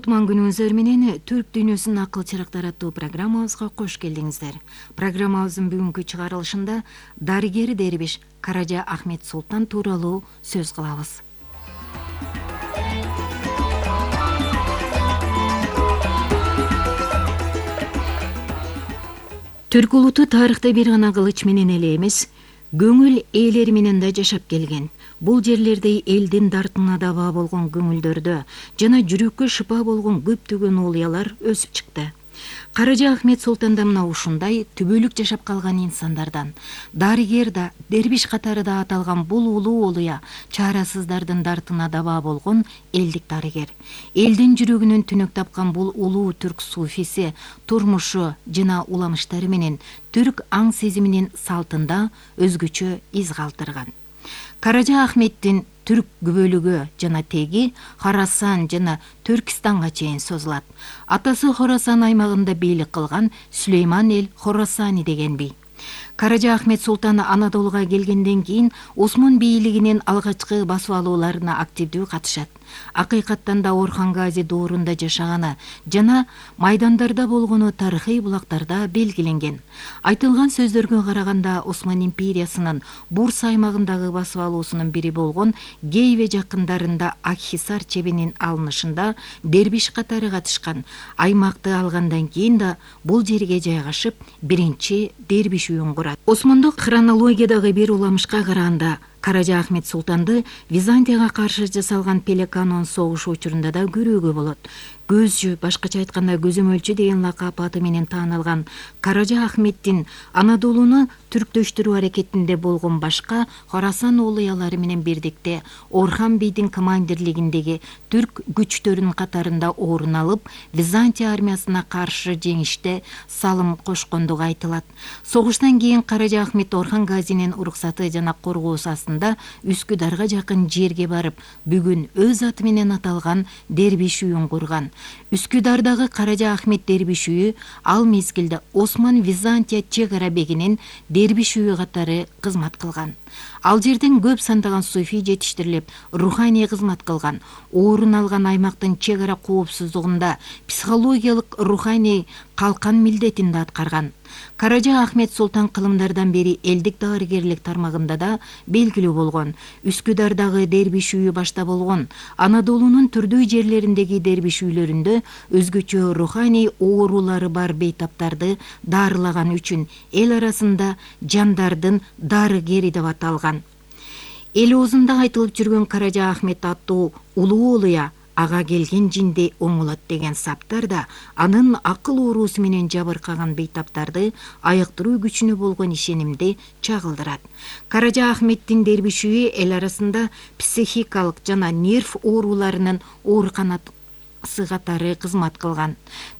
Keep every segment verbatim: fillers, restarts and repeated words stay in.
Кутман күнүңүздөр менен Түрк дүйнөсүнүн акыл чырактары аттуу программабызга кош келдиңиздер. Программабыздын бүгүнкү чыгарылышында дарыгер дербиш Каража Ахмет Султан тууралуу сөз кылабыз. Түрк улуту тарыхта бир гана кылыч менен эле эмес, көңүл ээлери менен да жашап келген. Бул жерлерде элдин дартына даба болгон көңүлдөрдө жана жүрөккө шыпа болгон көптөгөн улуялар өсүп чыкты. Каража Ахмет Султан да мына ушундай түбөлүк жашап калган инсандардан. Дарыгер да, дербиш катары да аталган бул улуу улуя чарасыздардын дартына даба болгон элдик дарыгер. Элдин жүрөгүнөн түнөк тапкан бул улуу түрк суфиси турмушу жана уламыштары менен түрк аң сезиминин салтында өзгөчө из калтырган. Каража Ахметтин түрк күбөлүгү жана теги Хорасан жана Түркистанга чейин созулат. Атасы Хорасан аймагында бийлик кылган Сүлейман эл Хорасани деген бий. Каража Ахмет Султан Анадолуга келгенден кийин Осмон бийлигинин алгачкы басып алууларына активдүү катышат. Акыйкаттан да Орхан Гази доорунда жашаганы жана майдандарда болгону тарыхый булактарда белгиленген. Айтылган сөздөргө караганда Осман империясынын Бурса аймагындагы басып алуусунун бири болгон Гейве жакындарында Акхисар чебинин алынышында дербиш катары катышкан. Аймакты алгандан кийин да бул жерге жайгашып биринчи дербиш үйүн курат. Осмондук хронологиядагы бир уламышка караганда Каража Ахмет Султанды Византияга каршы жасалган Пелеканон согушу учурунда да көрүүгө болот. Көзчү, башкача айтканда көзөмөлчү деген лакап аты менен тааналган Каража Ахметтин Анадолуну түрктөштүрүү аракетинде болгон башка Хорасан улуялары менен бирдикте Орхан бийдин командирлигиндеги түрк күчтөрүнүн катарында орун алып, Византия армиясына каршы жеңиште салым кошкондугу айтылат. Согуштан кийин Каража Ахмет Орхан Газинин уруксаты жана коргоосу астында Үскүдарга жакын жерге барып, бүгүн өз аты менен аталган дербиш үйүн курган. Үскүдардагы Каража Ахмет дербиш үйү ал мезгилде Осман Византия чек ара бегинин дербиш үйү катары кызмат кылган. Ал жерден көп сандаган суфий жетиштирилип, руханий кызмат кылган. Орун алган аймактын чек ара коопсуздугунда психологиялык руханий калкан милдетин да аткарган. Каража Ахмет Султан кылымдардан бери элдик дарыгерлик тармагында да белгилүү болгон. Үскүдардагы дербиш үйү башта болгон. Анадолунун түрдүү жерлериндеги дербиш үйлөрүндө өзгөчө руханий оорулары бар бейтаптарды дарылаган үчүн эл арасында жандардын дарыгери деп аталган. Эл оозунда айтылып жүргөн Каража Ахмет аттуу улуу улуя ага келген жинди оңолот деген саптар да анын акыл оорусу менен жабыркаган бейтаптарды айыктыруу күчүнө болгон ишенимди чагылдырат. Каража Ахметтин дербиш үйү эл арасында психикалык жана нерв ооруларынын ооруканасы катары кызмат кылган.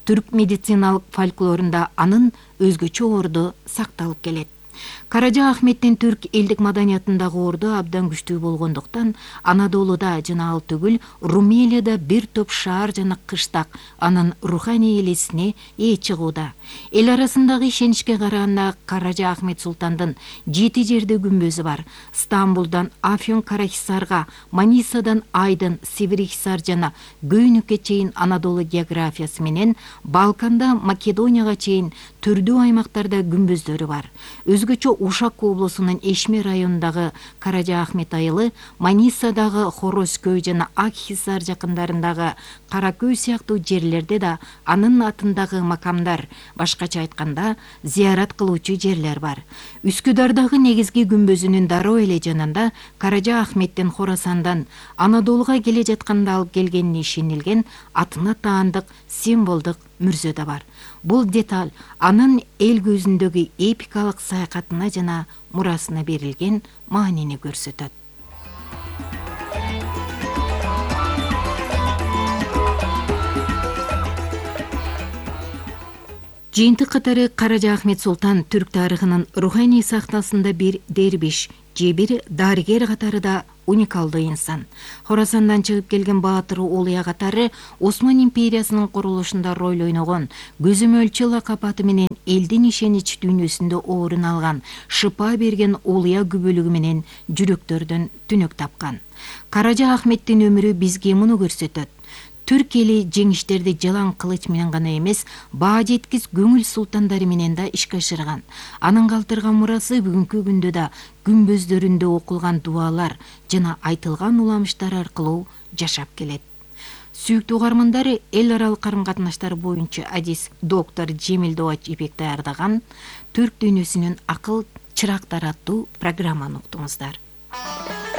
Түрк медициналык фольклорунда анын өзгөчө орду сакталып келет. Каража Ахметтин түрк элдик маданиятындагы орду абдан күчтүү болгондуктан Анадолуда жана ал түгүл Румелияда бир топ шаар жана кыштак анын руханий элесине ээ чыгууда. Эл арасындагы ишеничке караганда Каража Ахмет Султандын жети жерде күмбөзү бар. Стамбулдан Афьон Карахисарга, Манисадан Айдын, Северихисар жана Гөйнүккө чейин Анадолу географиясы менен Балканда Македонияга чейин түрдүү аймактарда күмбөздөрү бар. Өзгөчө Ушак облусунун Эшме районундагы Каража Ахмет айылы, Манисадагы Хорозкөй жана Акхисар жакындарындагы Каракөй сыяктуу жерлерде да анын атындагы макамдар, башкача айтканда, зыярат кылуучу жерлер бар. Үскүдардагы негизги күмбөзүнүн дароо эле жанында Каража Ахметтин Хорасандан Анадолуга келе жатканда алып келгенине ишенилген атына таандык символдук мүрзө да бар. Бул деталь анын эл көзүндөгү эпикалык саякатына жана мурасына берилген маанини көрсөтөт. Жыйынтык катары Каража Ахмет Султан түрк тарыхынын руханий сахнасында бир дербиш же бир дарыгер катары да уникалдуу инсан. Хорасандан чыгып келген баатыр улуя катары Осман империясынын курулушунда роль ойногон, көзөмөлчү лакап аты менен элдин ишенич дүйнөсүндө орун алган, шыпа берген улуя күбөлүгү менен жүрөктөрдөн түнөк тапкан. Каража Ахметтин өмүрү бизге муну көрсөтөт. түрк эли жеңиштерди жалаң кылыч менен гана эмес, баа жеткис көңүл султандары менен да ишке ашырган. Анын калтырган мурасы бүгүнкү күндө да күмбөздөрүндө окулган дуалар жана айтылган уламыштар аркылуу жашап келет. Сүйүктүү угармандар, эл аралык карым-катнаштар боюнча адис доктор Жемил Добач Ипек даярдаган Түрк дүйнөсүнүн акыл чырактары аттуу программаны уктуңуздар.